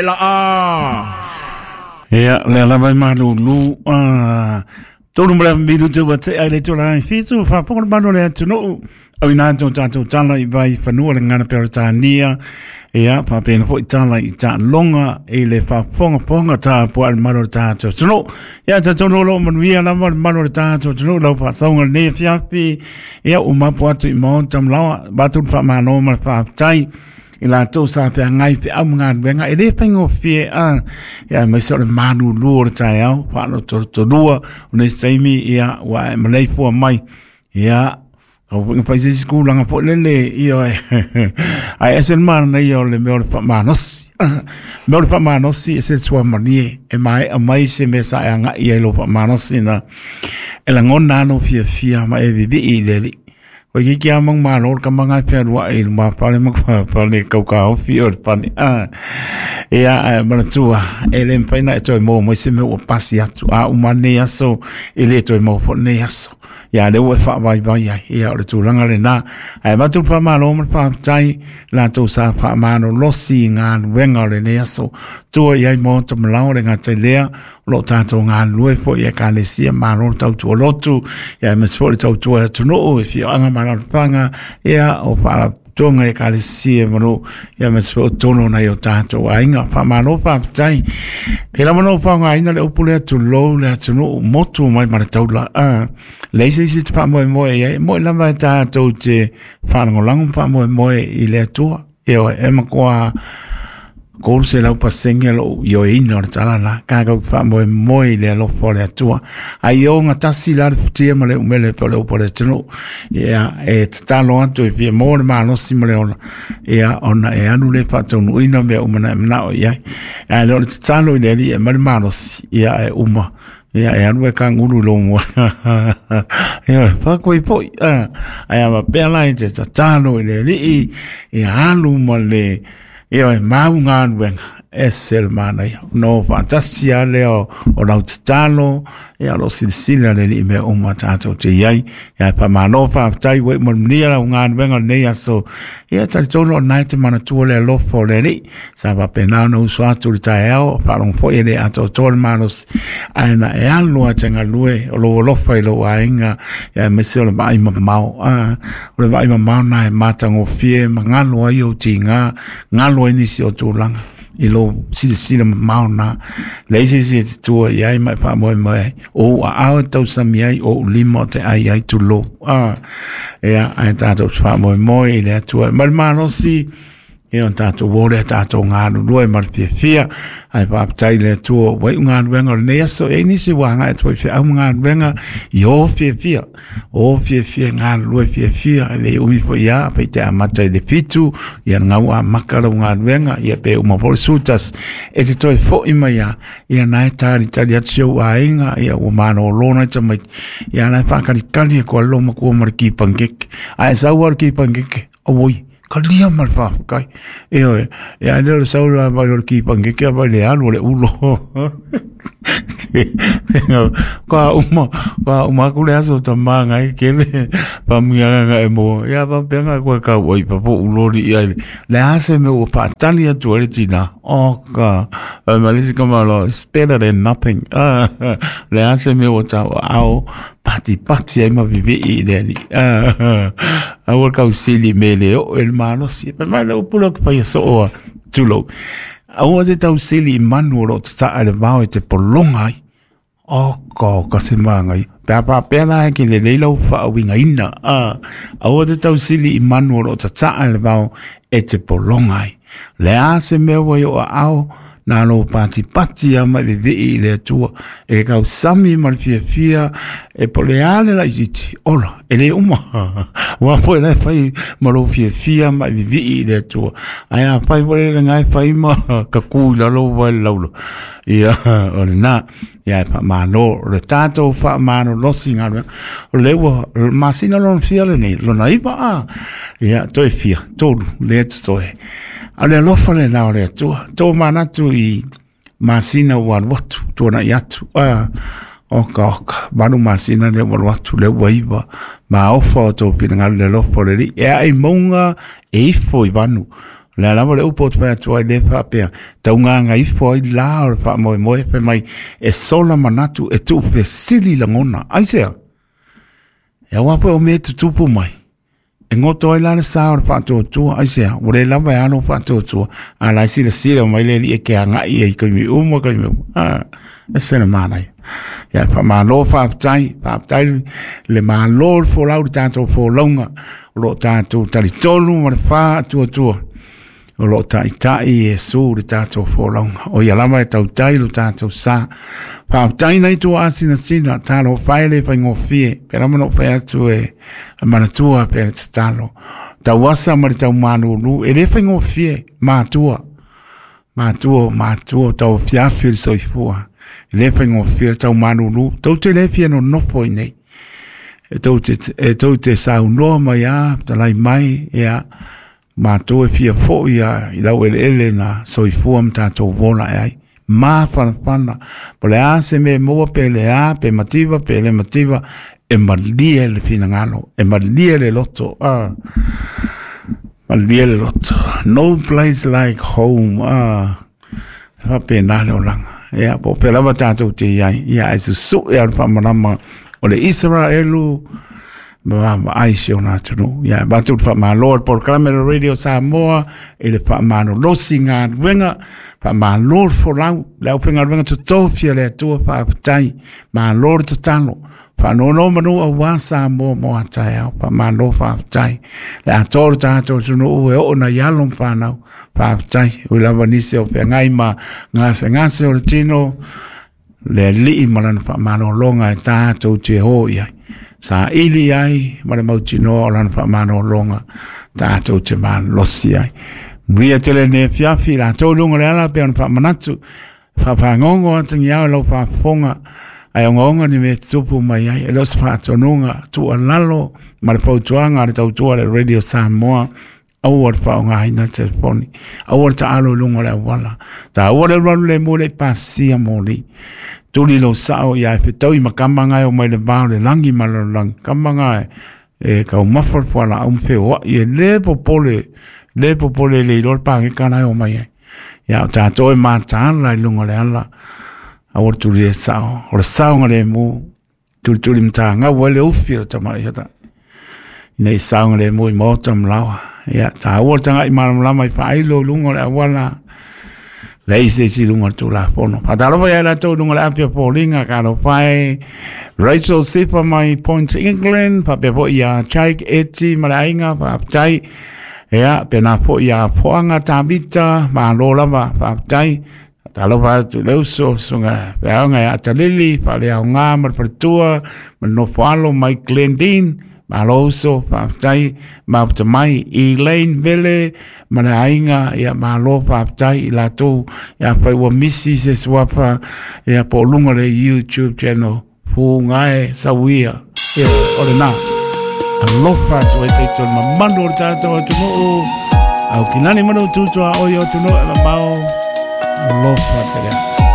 Laa. Ia, lea lava e malulu, a, tolu ma le minute ua tea i le itula e 7, faafofoga le mamalu o le atunuu, auina atu o tatou tala i vai fanua le gagana Peretania, ia, faapena foi tala i taaloga i le faafogafoga tapuai le mamalu o le tatou atunuu. Ia, talitonu o lo o manuia lava le mamalu o le tatou atunuu i lau faasauga i lenei afiafi, ia, ua mapu atu i maota ma laoa, avatu le faamalo ma le faafetai i latou sa feagai feau ma galuega e le faigofie a ia aemaise o le malulu o le taeao faalotolotolua o nisi taimi ia ua e maleifua mai ia au foi na fai se isi tulaga foi lele ia ae ese le manaia o le mea o le faamalosi mea o le faamalosi e se suamalie e maea mai se mea sa e agai ai i lou faamalosi na e lagona lava lou fiafia ma e vivii i le Alii. Koe ki ki a mang malo le kama ngai fealuai i luma pale ma pale kau kaofi o le pale. Ah. Ia, ae manatua, e le mafai ona e toe maua mai se mea ua pasi atu. A uma nei aso, e le toe maua foi nei aso. Ia, lea ua e faavaivai ai. Ia, o le tulaga lena. Ae avatu le faamalo ma le faafetai, latou sa faamalolosi i galuega o lenei aso. Tua i ai maota ma laoa le gata i lea, o lo o tatou galulue foi i Ekalesia, malo le tautua lotu, ia aemaise foi le tautua i atunuu, i afioaga ma alaalafaga, ia o faalapotopotoga i Ekalesia ma nuu, ia aemaise foi o totonu o nai o tatou aiga. Faamalo faafetai. Pei lava ona ou faaaogaina le upu lea, tulou le atunuu, motu mai ma le taula. Leai se isi e te faamoemoe i ai, e moni lava e tatou te faalagolago ma faamoemoe i le Atua. Ioe, e matua 300% lou ioeina o le tala la, tatou faamoemoe i le alofa o le Atua. Ai e ogatasi la le futia ma le umele pe o le upu a le atunuu. Ia, e tatalo atu e fia maua le malosi ma le ola, ia, ona e alu lea faataunuuina mea uma na e manao i ai. Ae le o le tatalo i le Alii e aumai le malosi, ia, e uma. Ia, e alu e kanguru i lou moe. Ia, whakoi poi. Ai a faapea la e te tatalo i le Alii, ia alu ma le, ia e mau galuega, ese le manaia. Ona o faatasi lava lea o lau tatalo, ia o lo o silasila le Alii i mea uma tatou te i ai. Ia e faamalo faafetai ua iu manuia lau galuega o lenei aso. Ia e talitonu o lena e te manatua le alofa o le Alii. Sa faapena ona uso atu i le taeao, faalogo foi e le atoatoa le malosi, ae na e alu lava e te galue o lou alofa i lou aiga, aemaise o le vaai mamao. O le vaai mamao lena e matagofie ma galo ai ou tiga, galo ai nisi o tulaga i lou silasila mamao lena. Leai se isi e te tua i ai ma e faamoemoe ai, o ou aao e tausami ai, o ou lima o te ai ai, tulou. Ia, ae tatou te faamoemoe i le Atua. Ma le malosi, Ia o tatou o lea tatou galulue ma le fiafia, ae faafetai i le Atua ua iu galuega o lenei aso. E i ai nisi ua agai atu foi i feau ma galuega i o fiafia, o fiafia galulue fiafia, e le umi foi lava pe te amata i le 7, ia gau amaka lau galuega, ia pe uma foi le 11, e te toe foi mai lava, ia na e talitali atu si ou aiga, ia ua malolo nai tamaiti, ia la e faakalikali atu ai lou matua ma le kipangeke, ae sau lava le kipangeke, Auoi, kalia ma le faafetai. Ioe, ia le o le sau la mai o le kipangeke a mai le alu o le ulo. Ka uma, ka uma aku le aso ta manga e kele, pa munga nga e mo. Ia pa penga koe ka oi pa po ulo li ia. Le ase me ua paatali atu ai le tina. Oh ka, ma le isi ka malo, it's better than nothing. Le ase me ua tau ao, patipati ai ma vivii i le Alii. Aua le tausili me le oo e le malosi. Fai mai le upu lea ou te faia soo a, tulou. Aua te tausili i manu o lo o tataa i le vao e te pologa ai. Oka, oka se māngai. Pe a faapea la e ke lelei lau faauigaina. Aua te tausili i manu o lo o tataa i le vao e te pologa ai. Le a se mea ua i o aao, nā lou patipati lava ma e vevii i le Atua, e ke tausami ma le fiafia, e po o le a le laitiiti, ola, e le uma. Aua foi la e fai ma lou fiafia ma e vevii i le Atua. Ae afai foi le lena e fai ma kakū i lalo ua i le laulau, ia, o lena. Ia e faamalo, o le tatou faamalolosi galuega, o lea ua masina lona fia lenei, lona 9 a, ia toe fia, tolu, lea totoe. A o le alofa lena o le Atua, tomanatu i masina ua alu atu, tuanai atu, a, oka oka, 8 masina lea ua alu atu, lea ua 9, maofa o outou finagalo i le alofa o le Alii, e ae i mauga e ifo i vanu. O le a lava le upu ou te fai atu ai lea faapea, taugāgaifo ai la o le faamoemoe fai mai e sola manatu e tuufesili lagona. Aisea? E aua foi o mea e tutupu mai, e goto ai la le sa o le faatuatua. Aisea? Ua le lava e alo faatuatua, a la e silasila mai le alii e ke agai ai i taimi uma, taimi uma. Ah, ese le manaia. Ia, faamalo, faafetai, faafetai le malo le folau le tatou folauga o lo o tatou talitonu ma le faatuatua o lo o taitai Iesu le tatou folauga. O ia lava e tautai lo tatou sa. Faafetai nai tua asinasina, talofa e le faigofie, pe lava na ou fai atu e manatua pe le tatalo. Tauasa ma le taumalulu, e le faigofie, matua, matua, matua, tau fiafi le soifua. E le faigofie le taumalulu, tou te le fia nonofo i nei. E tou te saunoa mai a, talai mai, ia, matou e fia foi a i lau eleele na soifua ma tatou ola e ai. Mafanafana, po le a se mea e maua pe le a, pe mativa, pe le mativa, e malie le finagalo, e malie le loto, ah. Malie le loto. No place like home, ah. Faapena le olaga. Ia, po o fea lava tatou te i ai, ia ae susue a le faamalama o le Isaraelu ma vaavaai si ona atunuu. Ia, e avatu le faamalo a le polokalame a le Radio Samoa i le faamalolosi galuega, faamalo le folau, le aufaigaluega totofi a le Atua, faafetai, malo le tatalo. Faanonomanu aua Samoa mo a taeao, faamalo faafetai. Le atoa o le tatou atunuu e oo nai alo ma fanau, faafetai. Ui lava nisi o feagai ma gasegase o le tino, le Alii ma lana faamalologa e tatou te o i ai. Saili ai ma le mautinoa o lana faamalologa tatou te malosi ai. Manuia tele lenei afiafi, i latou i luga o le ala pei ona faamanatu, Faafagogo atagiao i lau faafofoga, ae ogaoga ni mea e tutupu mai ai. E le o se faatonuga tuualalo ma le fautuaga a le tautua a le Radio Samoa, aua le faaaogaina le telefoni, aua le taalo i luga o le auala. Taua le alualu lemu e le i pasia moli. Tuli lou sao ia e fetaui ma kama nga e omai le va o le lagi ma le lalolagi. Kama nga e taumafa le fualaau ma feoai e le popole, le popole e le iloa le pageka la e omai ai. Ia o tatou e mataala i luga o le ala, aua le tuli e sao, o le saogalemu, tulituli matagau ai le ufi o le tamaiti ata. Ina i saogalemu i maota ma laoa. Ia, taua le tagai malamalama i faailo i luga o le auala, leai se isi i luga o le Tulafono. Faatalofa ia i latou i luga o le api o foliga, talofa e Rachel Sifa mai Point England, faapea foi ia Jake Eti ma le aiga, faafetai. Ia, pēnā foi ia Foaga Tavita, malo lava, faafetai. Faatalofa atu i le uso, susuga Feaoga ia Atalili, Faaleaoga ma le faletua, ma le nofoalo mai Glendene, malo uso, faafetai. Mafuta mai Elaine Vele ma le aiga, ia malo faafetai i latou, ia afai ua misi se suafa, ia po o luga o le YouTube channel, Fugae sauia, ia o lena. Alofa atu ai tatou i le mamalu o le tatou atunuu. Au ki lani manu tutu a oi o atunuu e mamao. Alofa tele.